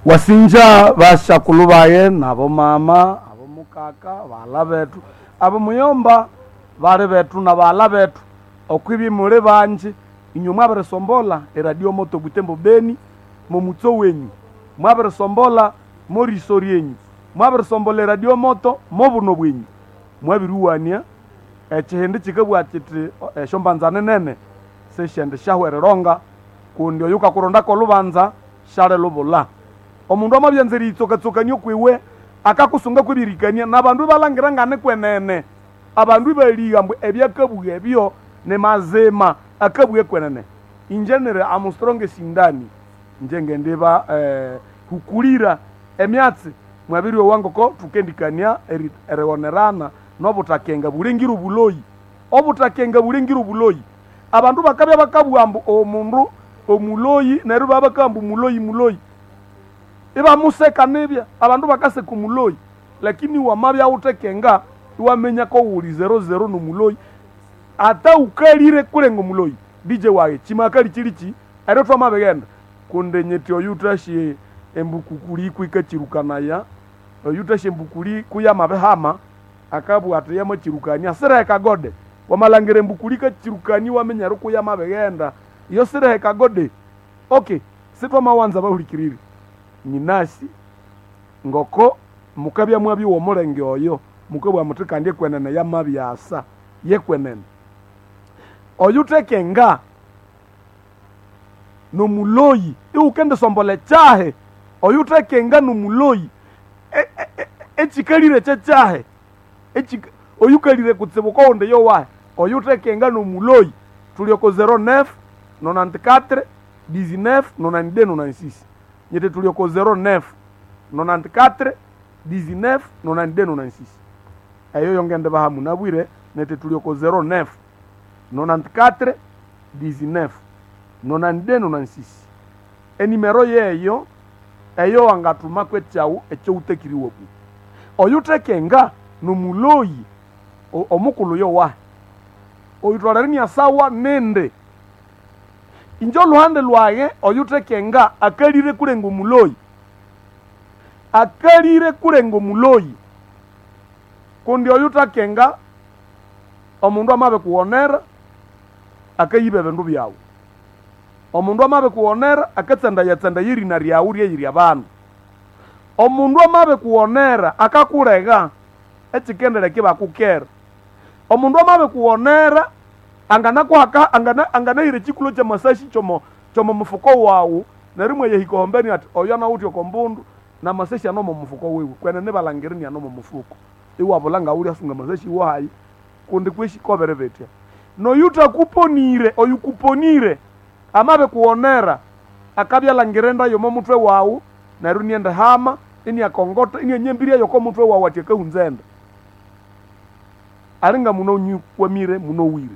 Wasinja bashakulu baye nabo mama abo mukaka baghala bethu abo muyomba bali bethu na baghala bethu okwibya muli banji inywe mwabirisombola eradio moto Butembo Beni momutso wenyu mwabirisombola moriso ryenyu mwabirisombola eradio moto mobuno bwenyu mwabiriwania ekihindi kikabugha kiti esyombanza nene sisyendi syahwa erironga kundi oyu kakurondako olubanza syalilubula. Omundu amabyanza eriyitsokatsokania okwiwe akakusunga kwebirikania nabandu ibalangira ngane kwenene abandu ibaligha ambu ebyakabugha ebyo ni mazima akabugha kwenene. Inje niri am strong esindani inje ngendiba hukulira emyatsi mwabiryowa ngoko thukendikania eriwonerana nobuthakenga bulengire obuloyi. Obuthakenga bulengire obuloyi. Abandu bakabya bakabugha ambu omundu omuloyi neryo ibabya bakabugha ambu muloyi muloyi ibamuseka nibya abandu bakaseka omuloyi lakini wamabya wuthekenga iwaminya kowuli zero zero nomuloyi ata ukalire kulenga omuloyi DJ wayi chimakali chilichi eryo twamabighenda kundi nyiti oyu wuthasye embukukuli kwikachirukanaya oyu wuthasye embukuli kuyamabihama akabugha athi yamakyirukania sireheka gode wamalhangira embukuli ikachirukania iwaminya eri kuyamabighenda iyo sireheka gode. Okay, sithwamawanza abahulikiriri nyinasi ngoko mukabya mwabyowa omulenge oyo mukabugha muthi kandi ekwenene yamabyasa yekwenene. Oyuthekenga nomuloyi iwukendisombola ekyahi oyuthekenga nomuloyi ekikalire kyekyahi oyukalire kutsibu kowundi yowahi oyuthekenga nomuloyi thuli oko 09 94 19 92 96 nyiti thuli oko 09 94 19 92 96 eyo yongendibaha munabwire niti thuli oko 09 94 19 92 96 enimero yeyo eyo wangathumako ekyawu ekyowuthekiriwe ku oyuthekenga nomuloyi omukulhu yowahi oyutholere inyasawa nindi. Inje olhuhande lwaye oyuthekenga akalire kulenga omuloyi akalire kulenga omuloyi kundi oyuthakenga omundu amabikughonera akayiba ebindu byawu omundu amabikughonera akatsandayatsandaya erina ryawu ryeyirya abandu omundu amabikughonera akakulega ekikendeleka ibakukera omundu amabikughonera anganakuhaka anganahira ekikulo kyamasashi kyomo mufuko wawu neryo imwayahika ohombeni athi oyo anawithe oko mbundu namasashi ano omo mufuko wiwe kwenene ibalhangira iniane omo mufuko iwabulha ngawulyasunga amasashi wahayi kundi kweshi kobere bitya. Noyuthakuponire oyukuponire amabikughonera akabya alhangira enda yomo muthwe wawu neryo inienda hama iniakongotha inianyambirya yoko muthwe wawu athi akahunza enda alinga munonyikwamire munowire.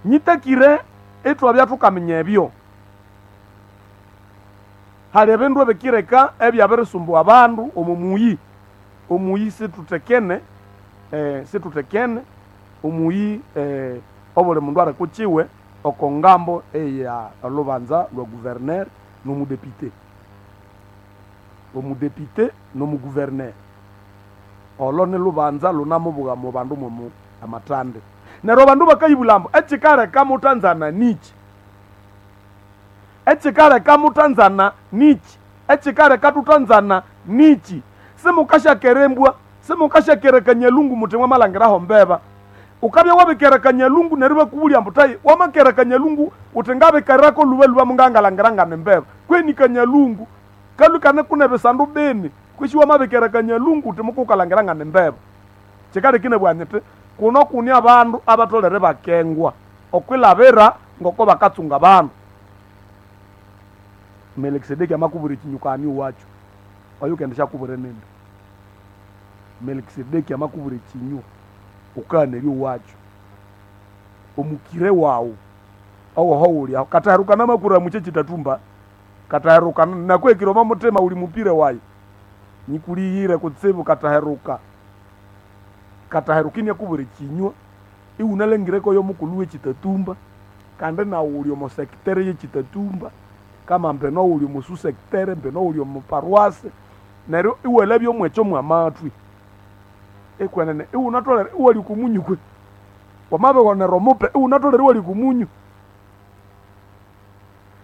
Nyitakire ithwabya thukaminya ebyo hali ebindu ebikireka ebyabirisumbuwa abandu omo muyi omuyi situthekene situthekene omuyi obuli mundu ali kukiwe oko ngambo eya olhubanza lwa guverner nomudepite omudepite nomuguverner olo nilhubanza lunamubugha mu bandu mwomu amathande neryo abandu bakayibulha ambu ekikaleka muthanzana niki ekikaleka muthanzana niki ekikaleka thuthanzana niki simukasyakerembwa simukasyakera kanyalungu muthi mwamalhangiraho mbeba ukabya wabikera kanyalungu neryo ibakubulya ambu thayi wamakera kanyalungu uthi ngabikerako lhubalhuba mungangalhangira ngane mbeba kweni kanyalungu kalhwa ikane kune bisandu bini kwisi wamabikera kanyalungu uthi mukukalhangira ngane mbeba. Kikaleka inabugha nyithi kuno kuni abandu abatholere bakengwa okwilhabira ngoko bakatsunga abandu. Melikisedeki amakubwira ekinyuka owakyo oyukendishyakubwira nindi. Melikisedeki amakubwira ekinywa wukaghanerya owakyo omukire wawu owoho wuli aho kathaherukana amakura mukye kyitathumba kathaherukana nakuhekire omo muthima wuli mupire wayi nyikulighire kutsibu kathaheruka kathaheruka iniakubwira ekinywa iwunalhangireko yomukulhu wekyitatumba kandi nawu wuli omo sector yekyitatumba. Kama mbeno uli omu sous-secteur, mbeno uli omu paroisse, neryo iwalabya omwekyo mwamathwi. Ekwenene iwunatholere iwalya oko munyu kwe. Wamabighonera omupe iwunatholere iwalya oko munyu.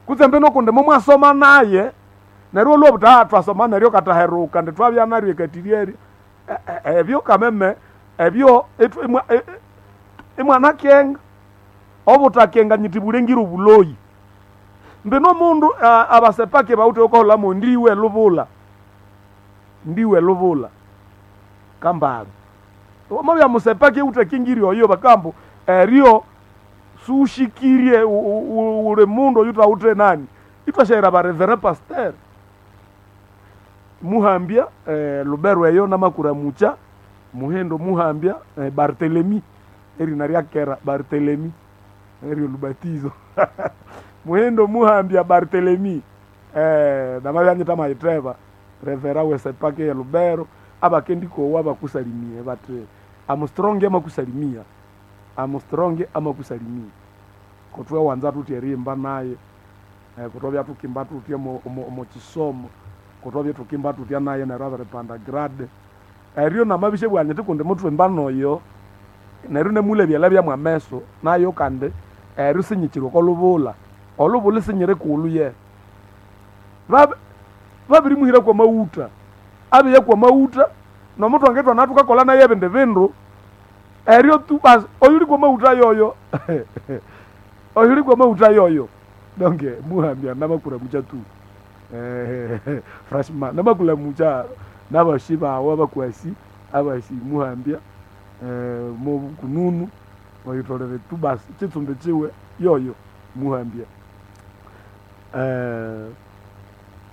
Kutse mbino kundi mumwasoma naye, neryo iwalhwa buthi twasoma neryo kataheruka indi twabya naryo ekatiri ebyo kameme ebyo imwanakenga. Obuthakenga nyiti bulengire obuloyi. Mbino omundu abasepaki bawithe wukaholamo ndiwe lubula. Ndiwe lubula. Kambali. Wamabya musepaki ewuthakingirye oyo bakambu eryo sushikirye uli mundu oyuthawithe nani. Ithwasyaghira ba reverend pasteur. Muhambya Lubero eyo namakuramucha Muhindo Muhambya Barthelemy erina ryakera Barthelemy eryo lubatizo. Muhindo Muhambya Barthelemy namabya nyithamayitheba revera wesepaki ye Lubero abakendikowa bakusalimie bathi Armstrong amakusalimia. Armstrong amakusalimia. Kutwe wanza thuthi erihimba naye kutwabya thukimba thuthi omo kisomo kutwabya thukimba thuthya naye neryo abiripanda grade. Eryo namabisha bwa nyithi kundi muthwimba noyo neryo namulabya labya mwameso nayo kandi eryo sinyikiri oko lubula. Olubula sinyiri kulhu ye. Babirimuhira kwa mawutha. Abiya kwa mawutha nomuthwa ngethwana thukakolha naye ebindi bindu eryo tu basi oyuli kwa mawutha yoyo. Oyuli kwa mawutha yoyo. Donc muhambya namakuramucha tu. Franchement namakulamucha nabashi bawe abakwasi abasi muhambya mobukununu oyitholere tu basi kitsumbi kiwe yoyo muhambya.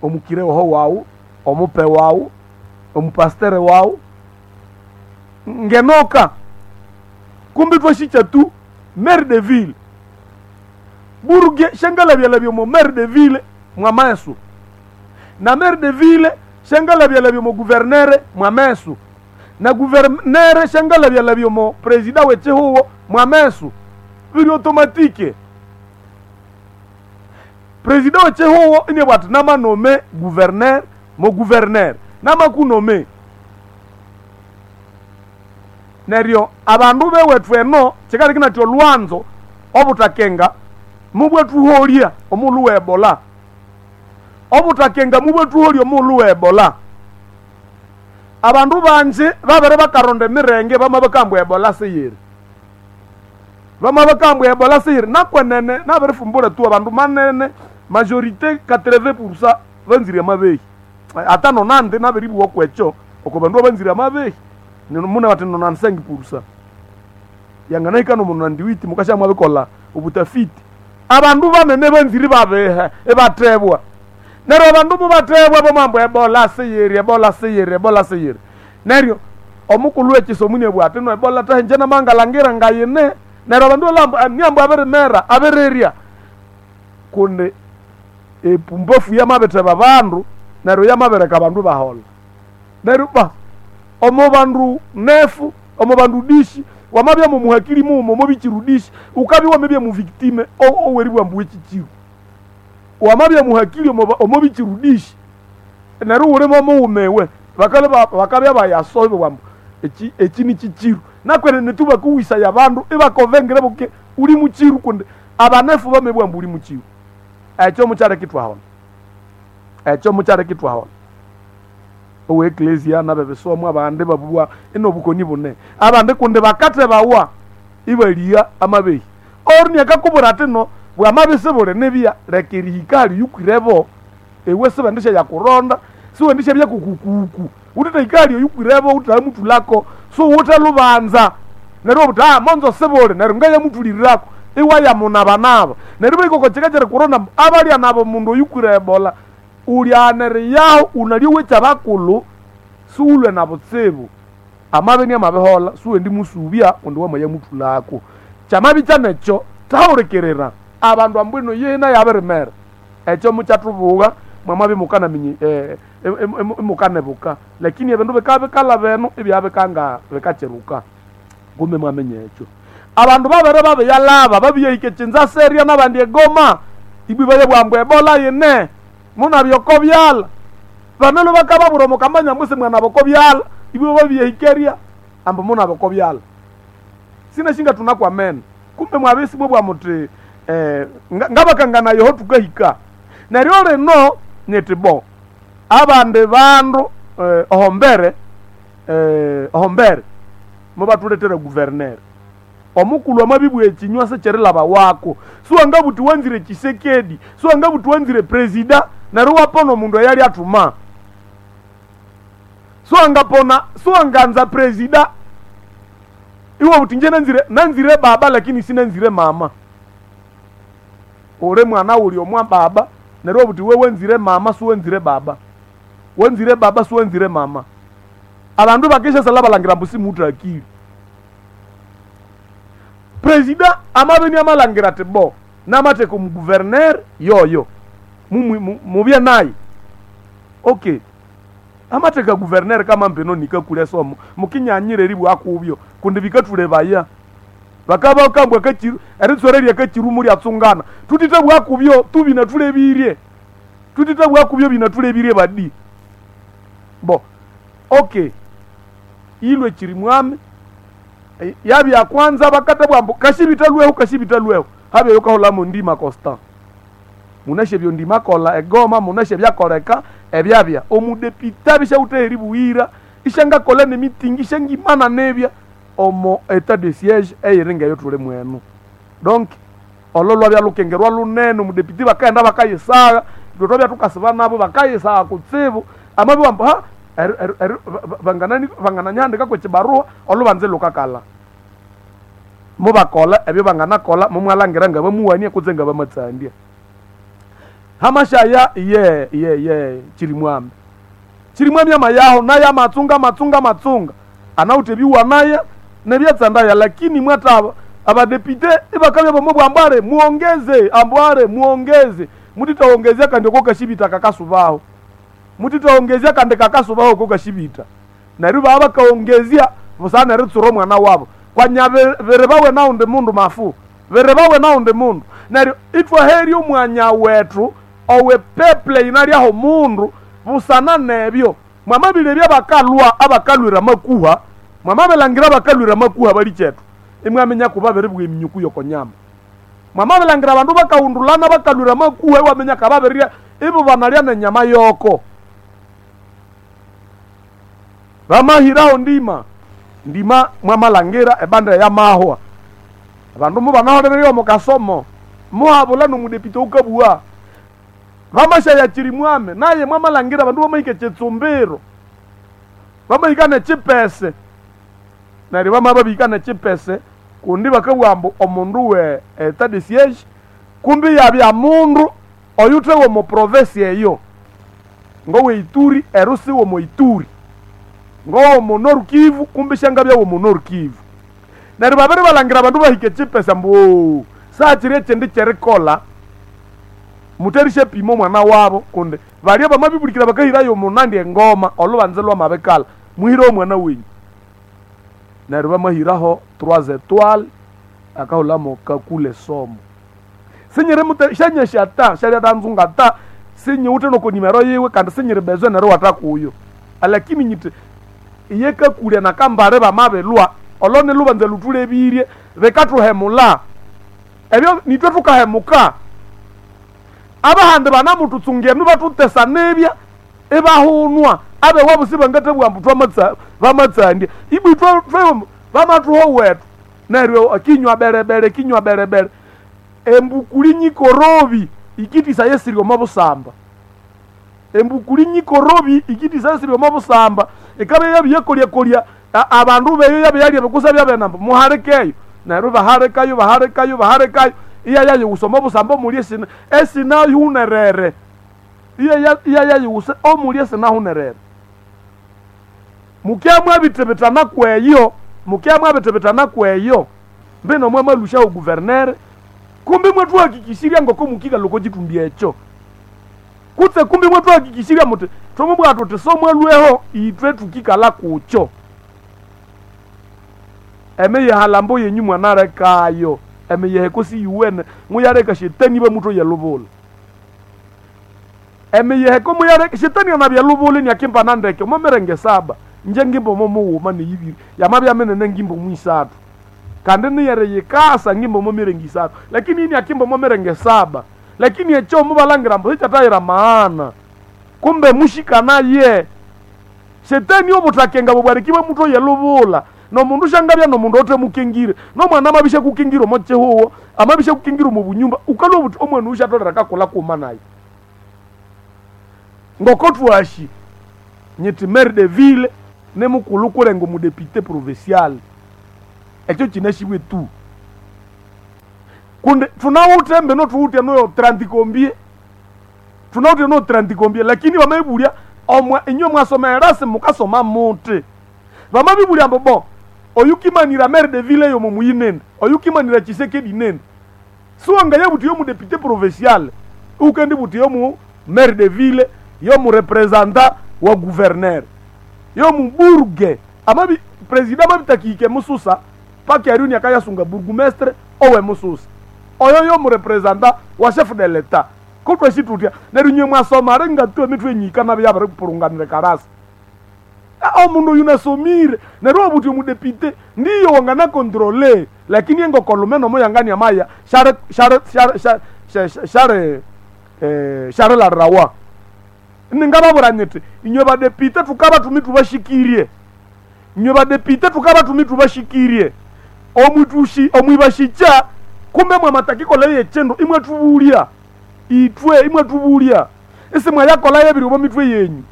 Omukire oho wawu, omupe wawu, omupastere wawu ngenoka kumbi twashikya tu maire de ville buruge shangalabya omo maire de ville mwameso na maire de ville shangalabya omo gouverneur mwameso na gouverneur shangalabya omo president w'ekihugo mwameso biri automatique. President w'ekihugo ine bwati namanome gouverneur mo gouverneur namakunome. Neryo abandu bewethu eno kikali kinatya olwanzo obuthakenga mubwethuholya omulhu we Ebola. Obuthakenga mubwethuholya omulhu we Ebola. Abandu banji babere bakaronda emirenge bamabakambwa Ebola siyiri. Bamabakambwa Ebola siyiri nakwenene nabirifumbura tu abandu manene majorité 80% banzire amabehi. Ata nonandi nabiribuwa kwekyo oko bandu abanzire amabehi. Muna bati 95%. Yanganahika no munandiwiti mukasha mwabikola ubutafiti. Abandu banene banzire babehe ebatebwa. Neryo abandu mubatebwa bomambo Ebola siyiri, Ebola siyiri, Ebola siyiri. Neryo omukulu w'ekisomo ni bwati no Ebola tahenje namangalangira ngayine. Neryo abandu lambo nyambo abirimera abirirya. Kundi epumbafu yamabetheba bandu neryo yamabereka abandu bahola. Neryo ba omo bandu nefu, omo bandu dishi, wamabya mu muhakiri mumo mobichirudishi, ukabya wamabya mu victime oweribwa mbu echichiru. Wamabya muhakiri omo bichirudishi. Neryo ulimo muumewe, bakale bakabya bayasobe wambu echi ni chichiru. Nakwene netuba kuwisa ya bandu ibakovengere buke uli muchiru kundi abanefu bamebwa mbu uli muchiru. Ekyo mukyare kitwahona. Ekyo mukyare kitwahona. Owe eklesia nabebesomwa abandi babubwa enobukoni bune. Abandi kundi bakate bawa ibalia amabehi. Orni akakubura ati no bwamabese bule nebya lekirihikali yukwirebo. Ewe sebendisha yakuronda, siwendisha bya kukukuku. Utete ikali yukwirebo utamutulako, so utalubanza. Neryo buta monzo sebole neryo ngaya mutulirako. Iwa ya munabanaba. Neryo biko chekachere kurona abalya nabo mundu yukwire Ebola. Ulyanere yaho unaliwe kyabakulu suulwe na butsibu. Amabe ni amabehola suwe ndi musubya undi wamaya mutulako. Kyamabi kyanekyo tawurekerera abandu ambwino yena yabirimera. Ekyo mukyathubuga mwamabi mukana minyi mukanebuka. Lakini ebindu bikabikala beno ebyabikanga bikacheruka. Kumbe mwamenye ekyo. Abandu babere babiyalaba babiyahika Kinshasa n'abandi e Goma. Ibwi bwambu ebola yine munabyoko byala banalo bakababura mukamanya mwese mwana boko byala ibwi babyehikeria ambu munaboko byala sinashinga tunakwamena kumbe mwabesi mwe bwa muti ngabakangana yoho tukahika neryo lino nyiti bo abandi bandu ohombere ohombere mubatuletera guverner omukulu amabibwa ekinywa sekyerilaba wako siwangabuti wanzire Tshisekedi, siwangabuti wanzire presida neryo wapona omundu eyali atuma, siwangapona siwanganza presida iwe buti nje nanzire baba lakini sinanzire mama. Ule mwana uli omwa baba neryo buti we wenzire mama siwenzire baba, wenzire baba siwenzire mama. Abandu bakesha sala balangira mbu simutu akili. Presida amabeni amalangira ati bo namateka omuguverner yoyo mubye naye okay. Amateka guverner kama mbeno nikakulya somo mukinyanyire ribwa akubyo kundi bikatulebaya bakaba kambwa kachiru eritsoreria kachirumu lyatsungana tutite bwakubyo tubina tulebirie tutite bwakubyo bina tulebirie badi bo okay. Ilwe chirimwame yabya kwanza bakata bwambu kashibitalweho kashibitalweho habe yokahola ndima Constant munashe byo ndima kola egoma munashe byakoleka ebyabya omudepita bishauteri buira ishanga kola ne meeting ishangimana nebya omo etat de siège eyiringa yo tule mwenu. Donc ololwa bya lukengerwa lunene omudepiti bakaenda bakayisaga itwe bya tukasiba nabo bakayisaga kutsibu amabi wambu ha banganani bangananyandika kwe kibarua olubanze lukakala mubakola ebyo banganakola mumwalangira nga bamuwania kutse nga bamatsandia hamashaya ye ye ye chirimwami chirimwami amayaho naye amatsunga matsunga matsunga anautebiwa naye nebyatsandaya lakini mwataba abadepite ibakabya bamwe bwambare muongeze ambware muongeze mutitaongezea kandi okokashibita kakasubaho mutitaongezea kandi kakasubaho kokashibita neryo baba bakaongezea busana ritsuro mwana wabo kwanya bere bawe naundi mundu mafu bere bawe naundi mundu neryo itwaherya omwanya wethu owe peple inalyaho mundu busana nebyo mwamabile abakalwa abakalwira makuha mwamabelangira abakalwira makuha bali chetu imwamenya kuba bere bwe minyuku yokonyama mwamabelangira abandu bakawundulana bakalwira makuha iwamenya kababerirya ibo banalya nenyama yoko bamahiraho ndima ndima mwamalangira ebanda ya mahwa abandu mubanaholererya mukasomo muhabula nomudepite ukabua bamashaya chirimwame naye mwamalangira abandu bamahika chitsumbiro bamahika nechipese neryo bama babihika nechipese kundi bakabugha ambu omundu we etat de siège kumbi yabya mundu oyuthe womu province eyo ngowe Ituri erusi womu Ituri ngowo Nord Kivu kumbi shangabya womu Nord Kivu neryo babiri balangira abandu bahika echipese ambu saachiri echindi cherikola muterishe pimo mwana wabo kundi balya bamabibulikira bakahirayo munandi engoma olubanze lwamabikala muhire omwana wenyu neryo bamahiraho 3 étoiles akahulamo kakule somo sinyiri shanyesha ta shalyatanzunga ta sinyiwuthe noko nimero yiwe kandi sinyiri bezwe neryo watakuyo alakini nyiti iye kakulya nakambare bamabelwa olone lubanze lutulebirie bikathuhemula ebyo nitwe tukahemuka abahandi banamututsungienu batutesa nebya ibahunwa abewa busi bangatebwa mbu bamatsandya ibwi bamatuho wetu neryo kinywa berebere kinywa berebere embukuli nyikorobi ikitisa yesiri omo busamba embukuli nyikorobi ikitisa yesiri omo busamba ikabe yabiyekolyakolya abandu beyo yabyalya bikusa byabenamba muharikeyo neryo baharekayo baharekayo baharekayo iya yayiwusa omo busamba omuli esina esinahunerere iya yayiwusa omuli esinahunerere mukya mwabitebetana kweyo mukya mwabitebetana kweyo mbino mwamalusha oguvernere kumbi mwethuhakikishirya ngoko mukika loko chitumbi echo kutse kumbi mwethuhakikishirya muti thomubwira tuti somwalweho itwe tukikala kucho emeyihalambo yenyu mwanarekayo. Emiyeheko siyuwene muyaleka shetani bamutoya lubula. Emiyeheko muyaleka shetani anabya lubula niakimba nandeke omo mirenge saba nje ngimba omo mughuma neyibiri yamabya minene ngimba omo isathu kandi niyere yikasa ngimba omo mirenge isathu lakini ini akimba omo mirenge saba lakini ekyo mubalangira mbu sikyatayira maana kumbe mushikanaye. Shetani obuthakenga bubwarikibwa mutoye lubula nomundu shangabya nomundu otemukingire nomwana amabisha kukingira omo chihuwo amabisha kukingira omu bunyumba ukalwa obuti omwana oyu shatolera kakola kuma naye. Ngoko twashi nyiti maire de ville ne mukulu kulenga omudepite provincial ekyo kinashibwe tu kundi tunawuthe mbino thuwuthe noyo 30 combien tunawuthe no 30 combien lakini bamabibulya omwa inywe mwasoma erasi mukasoma muti bamabibulya ambu bo oyukimanira maire de ville yomo muyinene oyukimanira Tshisekedi nene siwanga yabuti yomu député provincial ukendi buti yomu maire de ville yomu representant wa gouverneur yomu burge amabi president amabitakike mususa paki ariuni akayasunga bourgmestre owe mususa oyo yomu representant wa chef de l'état kotwesi tutya neryo inywe mwasoma ringa tu emitwe enyika nabi yabiripurunganira karasa. Omundu oyu nasomire neryo wabuti omudepite ndiyo wangana controle lakini engokolume nomo yangania maya share share share share share share share larawa ningababura nyiti inywe badepite tukaba tumi tubashikirie inywe badepite tukaba tumi tubashikirie omwitushi omwibashicha kumbe mwamatakikola yechendo imwe tubulya itwe imwe tubulya isi mwayakola yebiri obo mitwe yenyu.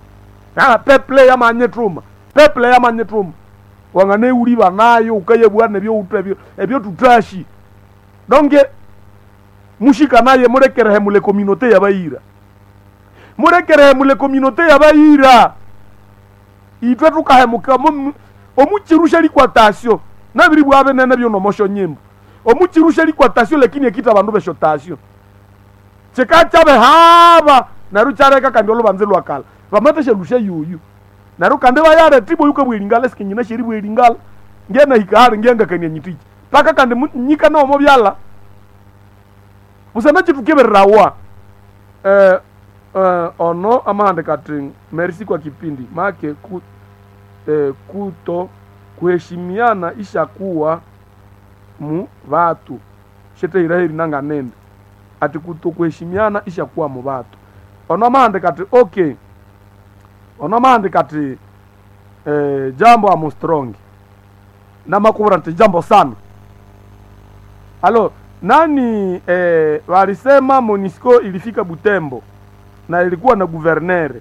Ah, peple yamanyetuma peple yamanyetuma wangane uliba nayo ukayebwa nebyo utwe ebyo tutashi donge mushika naye murekerehe mule communauté yabayira murekerehe mule communauté yabayira itwe tukahemuka omuchirusha likwatasyo nabiri bwabe nene byo nomosho nyimbo omuchirusha likwatasyo lakini ekita bandu besho tasyo chikachabe haba naru chareka kandi olubanze lwakala vamatesha lusha yuyu naru kandi vayare tibo yuka bwelingala sikinyina sheri bwelingala ngena hikahari ngenga kania nyitiki paka kandi nyika nomo byala busana chitukebererawa ono amahande kati merci kwa kipindi make kuto kuheshimiana ishakuwa mu vatu sheteiraheri nanganende ati kuto kuheshimiana ishakuwa mu vatu ono amahande kati okay ono amahande kati jambo amu strong namakubura nti jambo sana alo nani walisema Monisco ilifika Butembo na ilikuwa na guvernere.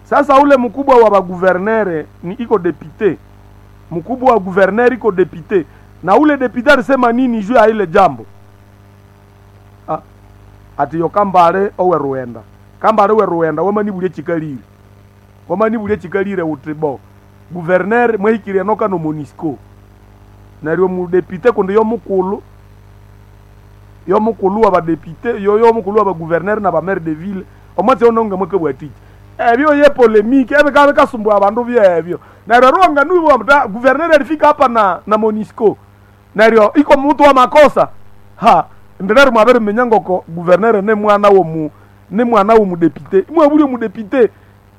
Sasa ule mkubwa wa baguvernere ni iko depute, mkubwa wa guvernere iko depute, na ule depute alisema nini juu ya ile jambo? Ati yo kambale owe ruenda kambale owe ruenda wamanibulie chikalire wamanibulie chikalire uti bo guvernere mwehikirie noka no Monisco neryo mudepite kundi yo mukulu yo mukulu wa badepite yo yo mukulu wa bagouverneur na ba maire de ville omwatsi ononga mweke bwatiki ebyo ye polemique ebe kabe kasumbua abandu byebyo neryo ruanga nubo mta gouverneur alifika hapa na Monisco neryo iko mtu wa makosa ha ndinari mwabere menyangoko gouverneur ne mwana wo mu ne mwana wo mudepite imwe buli mudepite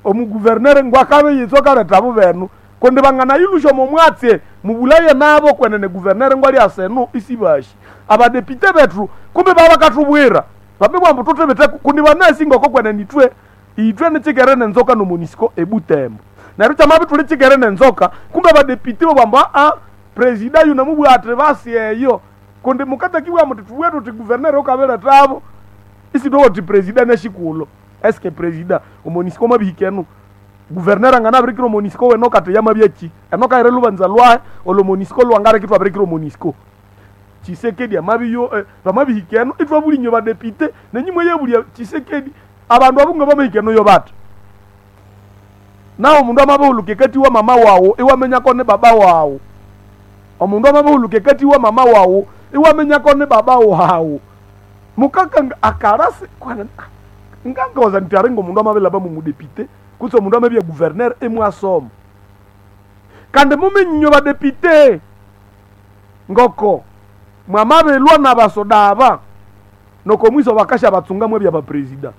omu gouverneur ngwakabe yitso kareta abo benu kundi bangana ilusho momwatse mubulaye nabo kwenene gouverneur ngwali aseno isibashi abadepite bethu kumbe baba katubwira babibwa mbu tutebete kundi banasi ngoko kwenene itwe itwe nichikere nenzoka no Monisco ebutembo neryo kyamabi tuli chikere nenzoka kumbe abadepite bobamba a presida yuno mubwate basi eyo kundi mukatakiwa muti tubwe tuti gouverneur okaberetabo isitowoti presida neshikulo eske presida omonisco mabihikenu gouverneur angana abirikira omonisco weno kati yamabyachi eno kaire lubanza lwahe olo monisco lwangarekitwa abirikira omonisco Tshisekedi amabiyo bamabihikeno itwa bulinyo badepite nenyimwe yebulya Tshisekedi abandu abunga bamahikeno yo bata nawo omundu amabihuluka kati wa mama wawo iwamenyako ne baba wawo omundu amabihuluka kati wa mama wawo iwamenyako ne baba wawo mukaka akarasi kwana ngangoza nti aringa omundu amabelaba mumudepite kutse omundu amabya gouverneur emwasoma kandi muminyinyo badepite ngoko Mwamabelwa n'abasoda aba noko mwiso bakasha batsunga mwebya bapresida.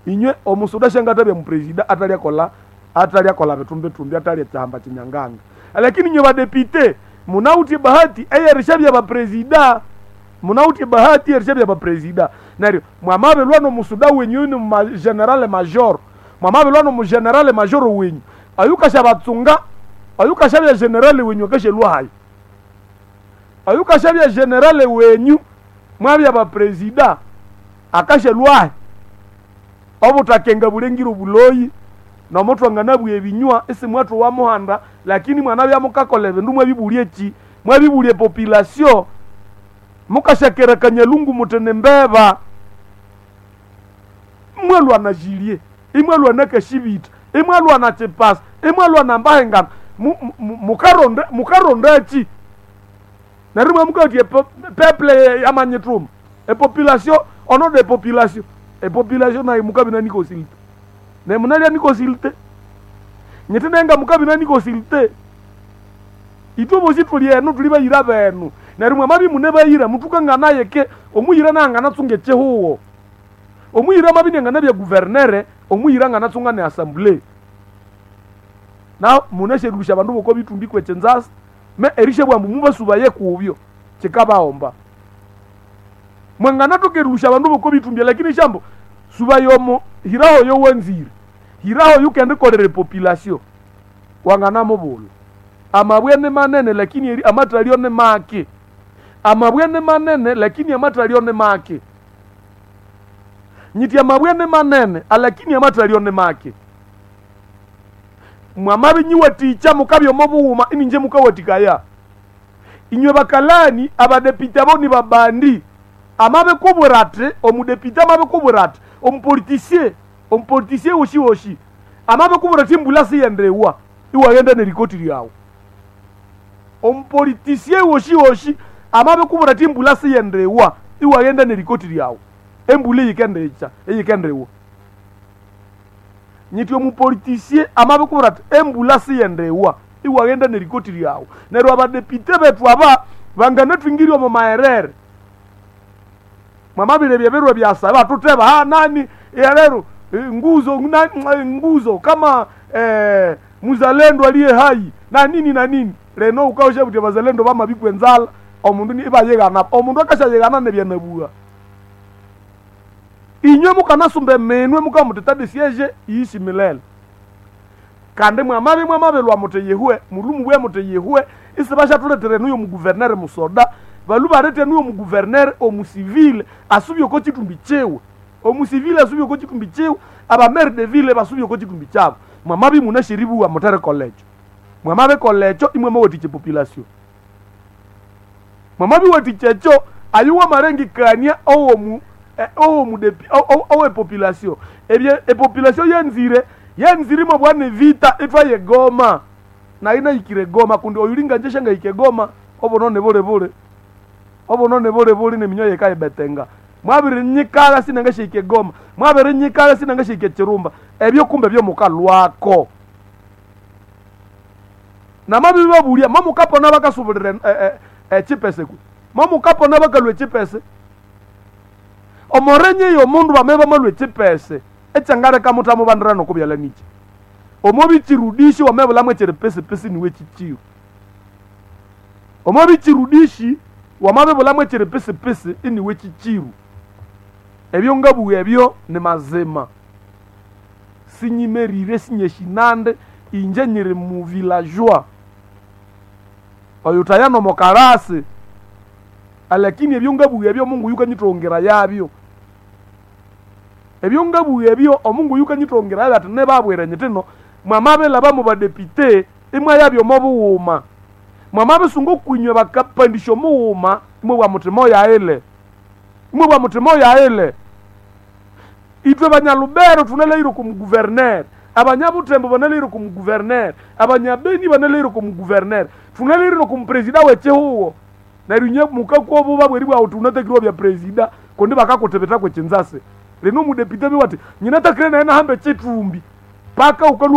Inywe omusoda shangatabya mupresida atalyakola atalyakola bitumbitumbi atalya chihamba chinyanganga. Lakini inywe badepite munautie bahati eyerishabya bapresida. Munautie bahati eyerishabya bapresida. Neryo mwamabelwa n'omusoda wenyu ni general major. Mwamabelwa n'omu general major wenyu. Ayukasha batsunga ayukashabya general wenyu akashelwa hayi. Ayukashabya general wenyu mwabya bapresida akashelwa hayi. Obutakenga bulengiro buloyi nomutwangana bwe ebinywa isi mwathu wa muhanda, lakini mwana bya mukakola ebindu mwabibulie ki mwabibulie population mukashakerekanya lungu mutene mbeba mwalwa na jilie imwalwa na kashibita imwalwa na chipasa imwalwa na mbahengana mukaronda mukaronda ki narimwe mukatie peuple yamanyituma e population ono de population e population nayi mukabina nikosilite ne munalia nikosilite nyete nenga mukabina nikosilite itwe bosi tuli eno tuli bayira benu neryo mwamabi mune bayira mutukangana yeke omuyira nangana tsunge chehuwo omuyira mabi nangana bya guvernere omuyira ngana tsunga ne assembly na munesherusha bandu boko bitumbi kwechenzasa me erishe bwambu mubasuba kubyo chikabaomba mwangana tokerusha bandu boko bitumbya lakini shambo suba yomo hiraho yo wenzire hiraho yukende kolere population wangana mubulu amabwene manene lakini amatalio ne make amabwene manene lakini amatalio ne make nyiti amabwene manene alakini amatalio ne make mwamabi nyiwaticha mukabyo mobuhuma ininje mukawatikaya inywe bakalani abadepite abo ni babandi amabe kuburate omudepite amabe kuburate omupolitisie omupolitisie woshi woshi amabe kuburate mbula siyendewa iwagenda nerikoti lyawo omupolitisie woshi woshi amabe kuburate mbula siyendewa iwagenda nerikoti lyawo embula iyikendecha iyikendewa nyiti omupolitisie amabe kuburate embula siyendewa iwagenda nerikoti lyawo neryo abadepite betu aba banganatwingirwa mu maherere mwamabire byebirwe byasaba tuteba ha nani yarero nguzo na, nguzo kama muzalendo aliye hai na nini na nini leno ukaosha kuti bazalendo bamabikwe nzala omundu ni ibayegana omundu akashayegana nebyanabua inywe mukanasumba eminwe mukamuteta de siege iishi milele kandi mwamabi mwamabelwa muti yehwe mulumu bwe muti yehwe isi bashathuletera nuyo muguvernere musoda balu barete nuyo muguvernere omusivile asubye oko chitumbi chiwe omusivile asubye oko chitumbi chiwe abamere de ville basubye oko chitumbi chabo mwamabi munashiribuwa mutere kolecho mwamabi kolecho imwe mawatiche population mwamabi watichecho ayuwa marengikania owomu owomudepi owe population ebye epopulation yenzire yenzire mabwane vita itwa yegoma na ina ikire goma kundi oyulinga nje shanga ike goma obonone bole bole obonone bole bole ne minyo yekaye betenga mwabiri nyikala sinanga shike goma mwabiri nyikala sinanga shike chirumba ebyo kumbe byo mukalwako na mabi babulia mamukapona bakasubulira chipese ku mamukapona bakalwe chipese omorenye yo mundu bameba malwe chipese echangareka mutamo bandira nokubyala nichi omobichirudishi wamebula chiri pesi pesi niwe chichiyo omobichirudishi wamabebula chiri pesi pesi iniwe chichiru ebyo ngabuya ebyo ni mazima sinyimerire sinyeshinande inje nyiri mu villageois oyo tayano mokarasi alakini ebyo ngabuya ebyo Mungu yukanyitongera yabyo ebyo ngabuya ebyo omungu yukanyitongera yabyo ati nebabwire nyitino mwamabela bamu badepite imwe yabyo mobuwuma mwamabisunga okwinywe bakapandisha omuwuma imwe bwa mutima oyaile imwe bwa mutima oyaile itwe banyalubero tunaleire kumuguvernere abanyabutembo banaleire kumuguvernere abanyabeni banaleire kumuguvernere tunaleire nokumpresida wechihuwo neryo inye mukakuobuba bweri bwawu tunatakirwa bya presida kundi bakakutebeta kwechinzase lino mudepite biwati nyinatakire naye nahambe chitumbi paka ukalwa.